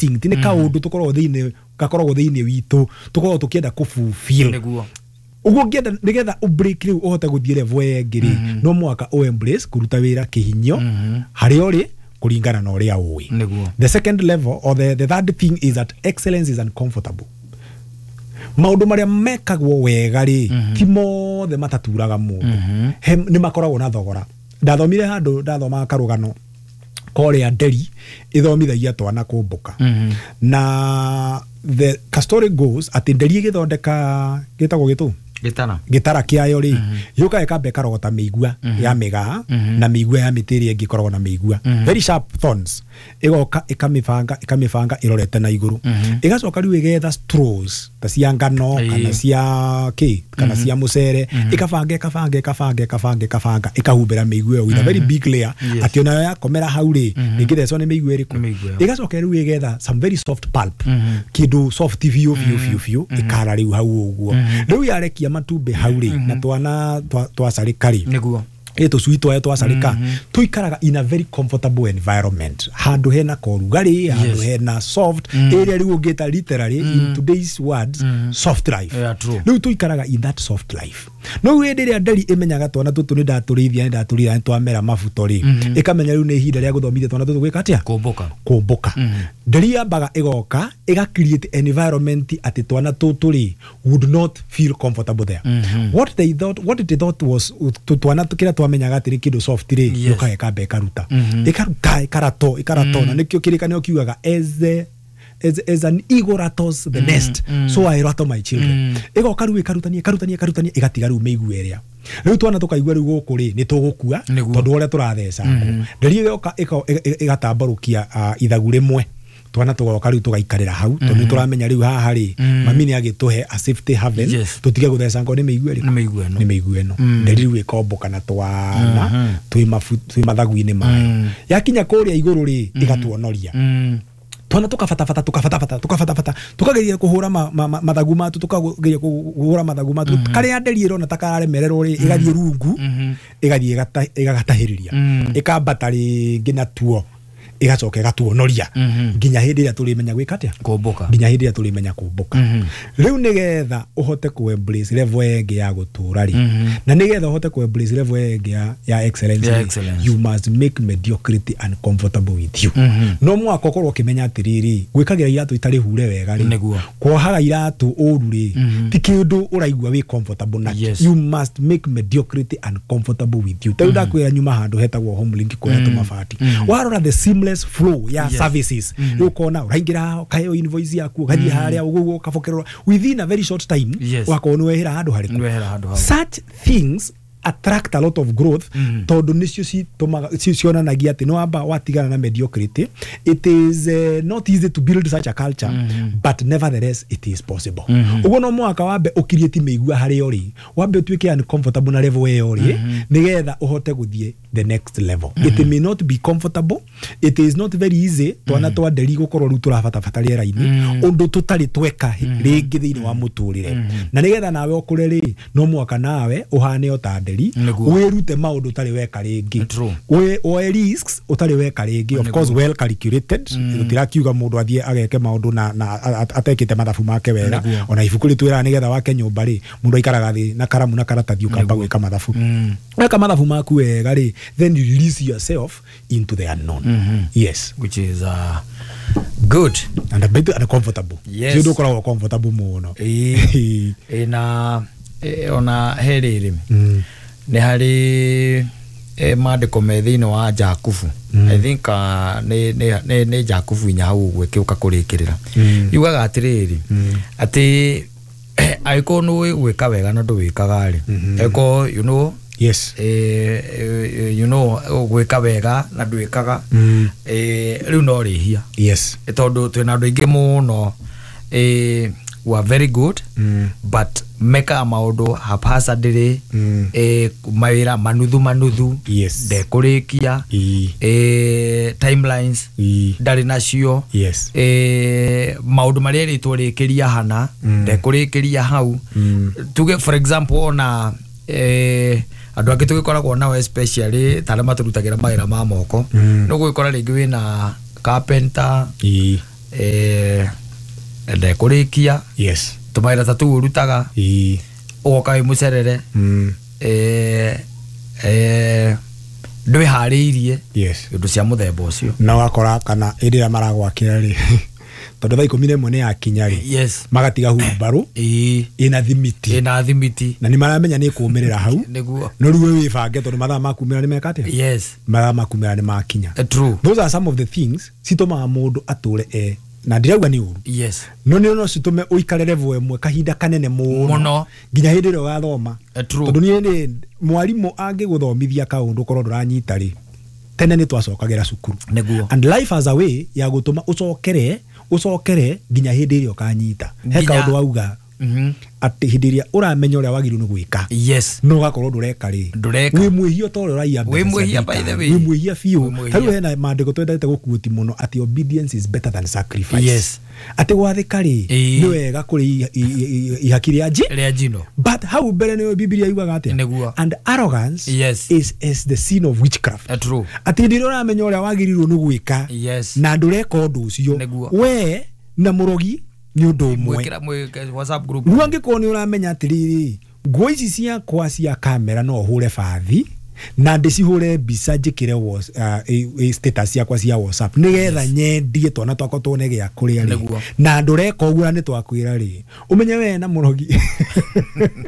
Instinct, nĩ kaũndũ tũkoragwo thĩinĩ, gakoragwo thĩinĩ witũ, tũkoragwo tũkĩenda kũfulfill. Ũguo ũngĩenda nĩgetha ũbreak rĩu ũhote gũthiĩ level ĩngĩ rĩ, no mũhaka ũ embrace kũruta wĩra kĩhinyio harĩa ũrĩ kũringana na ũrĩa ũĩ. The second level or the third thing is that excellence is uncomfortable. Maũndũ marĩa mekagwo wega rĩ, ti mothe mataturaga mũndũ. Nĩ makoragwo na thogora. Ndathomire handũ, ndathomaga karũgano korĩa nderi ĩthomithagia twana kũmbũka, na the story goes atĩ nderi ĩgĩthondeka gĩtagwo gĩtũ Gĩtara. Gĩtara kĩayo rĩ, yũkaga ĩkamba ĩkarogota mĩigua ya mĩgaa na mĩigua ya mĩtĩ ĩrĩa ĩngĩ ĩkoragwo na mĩigua, very sharp thorns, ĩgoka ĩkamĩbanga, ĩkamĩbanga ĩrorete na igũrũ, ĩgacoka rĩu ĩgetha straws ta cia ngano kana cia kĩ kana cia mũcere, ĩkabanga, ĩkabanga, ĩkabanga, ĩkabanga, ĩkabanga, ĩkahumbĩra mĩigua ĩyo with a very big layer, atĩ onayo yakomera hau rĩ, ndĩngĩthecwo nĩ mĩigua ĩrĩkũ. Nĩ mĩigua ĩyo. Ĩgacoka rĩu ĩgetha some very soft pulp, kĩndũ soft biũ biũ biũ biũ, ĩkara rĩu hau ũguo. Rĩu yarekia matumbĩ hau rĩ, na twana twacarĩka rĩ, ĩ tũcui twayo twacarĩka, tũikaraga in a very comfortable environment, handũ hena korugarĩ, handũ hena soft area, rĩu ũngĩta literally in today's words, soft life. Yeah, true. Rĩu tũikaraga in that soft life. No rĩu hĩndĩ ĩrĩa nderi ĩmenyaga twana tũtũ nĩ ndatũrĩithia, nĩ ndatũrĩithia, nĩ twamera mabuto rĩ, ĩkamenya rĩu nĩ ihinda rĩa gũthomithia twana tũtũ gwĩka atĩa? Kũmbũka. Kũmbũka. Nderi yambaga ĩgoka ĩga create environment atĩ twana tũtũ rĩ would not feel comfortable there. What they thought was twana kĩrĩa twamenyaga atĩ nĩ kĩndũ soft rĩ, yũkaga ĩkamba ĩkaruta, ĩkaruta, ĩkarato, ĩkarato, na nĩkĩo kĩrĩkanĩro kiugaga as an eagle rattles the nest, so I rattle my children. Ĩgoka rĩu ĩkarutania, ĩkarutania, ĩkarutania, ĩgatiga rĩu mĩigua ĩrĩa rĩu twana tũkaigua rĩu gũkũ rĩ nĩ tũgũkua, tondũ ũrĩa tũrathecangwo. Nderi ĩgoka ĩgatambarũkia ithagu rĩmwe, twana tũgoka rĩu tũgaikarĩra hau, tondũ nĩ tũramenya rĩu haha rĩ, mami nĩ agĩtũhe a safety haven, tũtige gũthecangwo nĩ mĩigua ĩrĩkũ? Nĩ mĩigua ĩno. Nĩ mĩigua ĩno. Nderi rĩu ĩkomboka na twana twĩ mathagu-inĩ mayo, yakinya kũrĩa igũrũ rĩ, ĩgatuonoria twana, tukabatabata, tukabatabata, tukabatabata, tukageria kuhura mathagu matu, tukageria kuhura mathagu matu. Karĩa nderi ĩrona ta kararemererwo rĩ, ĩgathiĩ rungu, ĩgathiĩ ĩgagatahĩrĩria, ĩkambata rĩngĩ natuo, ĩgacoka ĩgatuonoria nginya hĩndĩ ĩrĩa tũrĩmenya gwĩka atĩa? Kũmbũka. Nginya hĩndĩ ĩrĩa tũrĩmenya kũmbũka. Rĩu nĩgetha ũhote kũ embrace level ĩngĩ ya gũtũra rĩ, na nĩgetha ũhote kũ embrace level ĩngĩ ya excellence Ya rĩ, excellence. you must make mediocrity uncomfortable with you. No mũhaka ũkorwo ũkĩmenya atĩrĩrĩ, gwĩkagĩra iratũ itarĩ hure wega rĩ, kuohaga iratũ ũru rĩ, ti kĩndũ ũraigua wĩ comfortable nakĩo. You must make mediocrity uncomfortable with you. Ta rĩu ndakwĩra nyuma handũ hetagwo Homelink kũrĩa tũmabati, warora the seamless flow ya services, rĩu ũkona ũraingĩra haha, ũkaheo invoice yaku, ũgathiĩ harĩa ũguo, ũkabokerwo within a very short time, ũgakorwo nĩ wehera handũ harĩkũ? Nĩ wehera handũ hau. Such things attract a lot of growth, tondũ nĩcio citũmaga cionanagia atĩ nĩ wamba watigana na mediocrity. It is not easy to build such a culture, but nevertheless it is possible. Ũguo no mũhaka wambe ũkiriĩti mĩigua harĩa ũrĩ, wambe ũtuĩke uncomfortable na level ĩyo ũrĩ, nĩgetha ũhote gũthiĩ the next level. It may not be comfortable, it is not very easy. Twana twa nderi gũkorwo rĩu tũrabatabata rĩera-inĩ, ũndũ tũtarĩ tweka rĩngĩ thĩinĩ wa mũtũrĩre, na nĩgetha nawe ũkũre rĩ, no mũhaka nawe ũhane o ta nderi, wĩrute maũndũ ũtarĩ weka rĩngĩ. Woe risks ũtarĩ weka rĩngĩ, of course well calculated. Tũtirakiuga mũndũ athiĩ ageke maũndũ na atekĩte mathabu make wega. Ona ibuku rĩtwĩraga nĩgetha wake nyũmba rĩ, mũndũ aikaraga thĩ na karamu na karatathi, ũkamba gwĩka mathabu. Weka mathabu maku wega rĩ, then you release yourself into the unknown. Yes. Which is good. And a bit uncomfortable. Ti ũndũ ũkoragwo comfortable mũno. Ĩĩ, na ona he rĩrĩ, nĩ harĩ maandĩko me thĩinĩ wa Jakubu. I think nĩ Jakubu 4 hau ũguo ĩkĩũka kũrĩkĩrĩra, yugaga atĩrĩrĩ, atĩ angĩkorwo nĩ ũĩ gwĩka wega na ndũwĩkaga rĩ, angĩkorwo you know you know gwĩka wega na ndwĩkaga, rĩu no rĩhia, tondũ twĩna andũ aingĩ mũno who are very good, but mekaga maũndũ haphazardly, mawĩra manuthu manuthu, ndekũrĩkia, timelines ndarĩ nacio, maũndũ marĩa erĩtwo rĩkĩria hana, ndekũrĩkĩria hau. Tuge for example ona andũ angĩ tũgĩkoragwo nao, especially ta arĩa matũrutagĩra mawĩra ma moko, nĩ ũgũgĩkora rĩngĩ wĩna carpenter. Ndekũrĩkia. Yes. Tũmawĩra ta tũu ũrutaga. Ĩĩ. Ũgoka wĩ mũcerere. Ndwĩharĩirie. Yes. Indo cia mũthemba ũcio. Na wakora kana hĩndĩ ĩrĩa maragwakĩra rĩ, tondũ thaa 11 nĩ yakinya rĩ, Yes. magatiga humbarũ Ĩĩ. ĩna thimiti. Ĩna thimiti. Na nĩ maramenya nĩ kũmĩrĩra hau. Nĩguo. No rĩu we wĩbange tondũ mathaa ma kumĩra nĩ meka atĩa? Yes. Mathaa ma kumĩra nĩ makinya. True. Those are some of the things citũmaga mũndũ atũre e na ndirauga nĩ ũru. Yes. No nĩ no citũme ũikare level ĩmwe kahinda kanene mũno nginya hĩndĩ ĩrĩa ũgathoma. True. Tondũ niĩ nĩ mwarimũ angĩgũthomithia kaũndũ korwo ndũranyita rĩ, tene nĩ twacokagĩra cukuru. Nĩguo. And life has a way ya gũtũma ũcokere nginya hĩndĩ ĩrĩa ũkanyita. He kaũndũ wauga atĩ hĩndĩ ĩrĩa ũramenya ũrĩa wagĩrĩirwo nĩ gwĩka, Yes. no ũgakorwo ndũreka rĩ, Ndũreka. wĩ mwĩhia ta ũrĩa ũraiya mbeca Wĩ mwĩhia cia by the thirikari. way. Wĩ mwĩhia biũ. Wĩ mwĩhia. Ta rĩu hena maandĩko twendete gũkuũti mũno atĩ obedience is better than sacrifice. Yes. Atĩ gwathĩka rĩ, Ĩĩ. nĩ wega kũrĩ ihaki rĩa nji Rĩa njino. But hau mbere nĩyo Bibilia yugaga atĩa? Nĩguo. And arrogance Yes. is the sin of witchcraft. True. Atĩ hĩndĩ ĩrĩa ũramenya ũrĩa wagĩrĩirwo nĩ gwĩka, Yes. na ndũreka ũndũ ũcio, Nĩguo. we na mũrogi nĩ ũndũ ũmwe. Mwĩkĩra WhatsApp group. Rĩu angĩkorwo nĩ ũramenya atĩrĩrĩ, nguo ici ciakwa cia kamera no hũre bathi na ndĩcihũre mbica njĩkĩre status ciakwa cia WhatsApp nĩgetha nyendie twana twakwa tuone gĩa kũrĩa rĩ, Nĩguo. na ndũreka ũguo na nĩ twakwĩra rĩ, ũmenye we na mũrogi.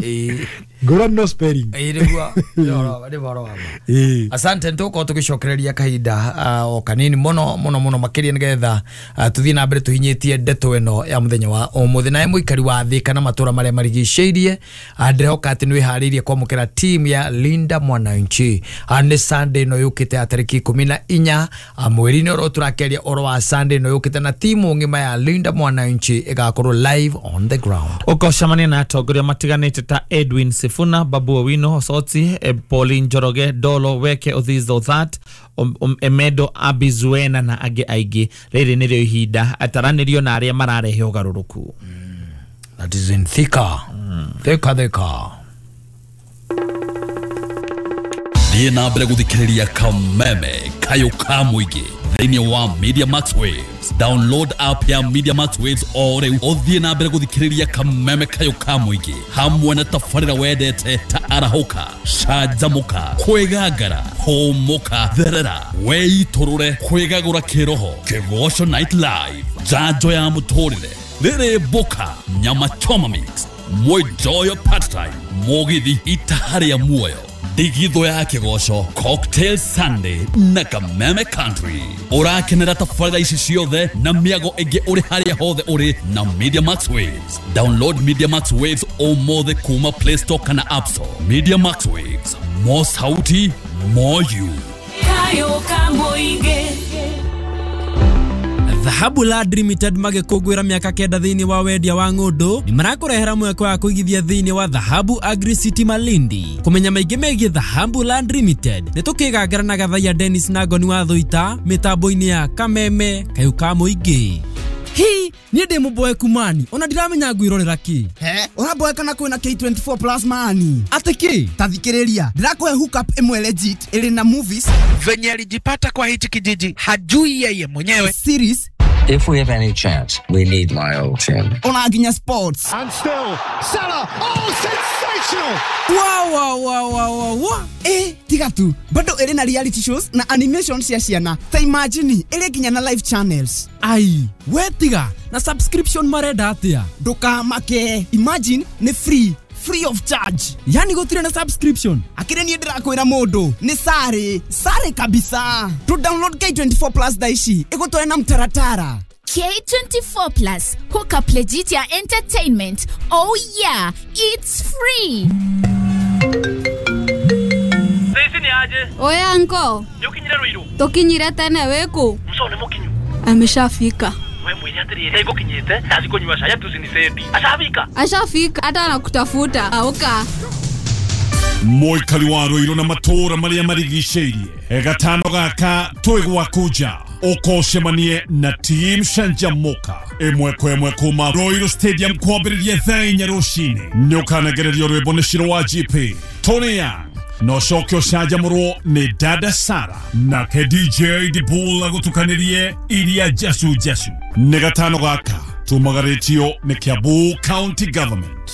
Ĩĩ. Ngũrani no spelling. Ĩĩ nĩguo. Nĩ ũhoro wa ma. Ĩĩ. Asante, nĩtũgũkorwo tũgĩcokereria kahinda o kanini mũno mũno mũno makĩria nĩgetha tũthiĩ na mbere tũhinyĩtie ndeto ĩno ya mũthenya wa ũmũthĩ. Nawe mũikari wa thĩ kana matũra marĩa marigicĩirie, ndĩrehoka atĩ nĩwĩharĩirie kwamũkĩra team ya Linda Mwananchi. Nĩ Sunday ĩno yũkĩte ya tarĩki 14 mweri-inĩ ũrĩa tũrakĩaria ũhoro wa Sunday ĩno yũkĩte, na timu ng'ima ya Linda Mwananchi ĩgakorwo live on the ground. Ũkocemania na atongoria matiganĩte ta Edwin Sifuna, Babu Owino Osoti, Pauline Njoroge, Dolo Weke, Othizo That, Emedo Abizuena na angĩ aingĩ. Rĩrĩ nĩrĩo ihinda ataranĩrio na arĩa mararehe ũgarũrũku. That is in Thika. Thika Thika. Thiĩ na mbere gũthikĩrĩria Kameme Kayũ ka mũingĩ thĩinĩ wa Media Max Waves. Download app ya Media Max Waves o rĩu ũthiĩ na mbere gũthikĩrĩria Kameme Kayũ ka mũingĩ hamwe na tabarĩra wendete ta arahũka, canjamũka, kwĩgangara, hũmũka, therera, weitũrũre, kwĩgagũra kĩroho, Kĩgoco Night Live, njanjo ya mũtũrĩre, rĩrĩ mboka, nyama choma mix, mwenjoyo part time, mũgithi itaha rĩa muoyo, ndigithũ ya kĩgoco, Cocktail Sunday na Kameme Country. Ũrakenera tabarĩra ici ciothe na mĩago ĩngĩ ũrĩ harĩa hothe ũrĩ na Media Max Waves. Download Media Max Waves ũmũthĩ kuma Play Store kana App Store. Media Max Waves, more sauti, more you. Kayo ka mũingĩ. Dhahabu Land Limited magĩkũngũĩra mĩaka 9 thĩinĩ wa wendia wa ng'ũndũ nĩ marakũrehera mweke wa kũigithia thĩinĩ wa Dhahabu Agri City Malindi. Kũmenya maingĩ megiĩ Dhahabu Land Limited nĩ tũkĩgangara na Gathaiya Dennis na Ngoni wa Thũita mĩtambo-inĩ ya Kameme Kayũ ka mũingĩ. Hi, niĩ ndĩ mũboeku mani ona ndiramenya ngwĩrorera kĩ. He, ũraboeka na kwĩna K24 plus mani. Atĩ kĩ? Ta thikĩrĩria, ndĩrakũhe hookup ĩmwe legit ĩrĩ na movies. Venye alijipata kwa hichi kijiji hajui yeye mwenyewe. Series. If we have any chance, we need my old team. Ona nginya sports. And still, Salah, oh, sensational! Wow, wow, wow, wow, wow, wow. Tiga tu, bado ĩrĩ na reality shows na animation cia ciana. Ta imagine, ĩrĩ nginya na live channels. Ai, we tiga, na subscription marenda atĩa? Ndũkamake, imagine nĩ free. Free of charge. Yani gũtirĩ na subscription. Akĩrĩ niĩ ndĩrakwĩra mũndũ nĩ sare sare kabisa. To download K24 plus thaa ici ĩgũtware na mtaratara. K24 Plus, hook up legit ya entertainment. Oh yeah, it's free. Sisi ni aje? Oya anko. Nĩũkinyire Ruiru? Tũkinyire tene wĩkũ? Mso nĩ mũkinyu. Ameshafika. We mwĩre atĩrĩrĩ, ĩgũkinyĩte ndathi kũnyua cai atucinicedi. Ashafika. Ashafika hata anakutafuta. Auka. Mũikari wa Ruiru na matũũra marĩa marigicĩirie gatano gaka twĩ gwaku nja ũkocemanie na team Canjamuka ĩmwe kwa ĩmwe kuma Ruiru Stadium kwambĩrĩria thaa 4 rũcinĩ. Nĩũkanegererio rwĩmbo nĩ Shiro wa GP, Tony Young, Na ũcoke ũcanjamũrwo nĩ Dada Sara nake DJ Dibul agũtukanĩrie iria njacu njacu. Nĩ gatano gaka tumagarĩtio nĩ Kiambu County Government.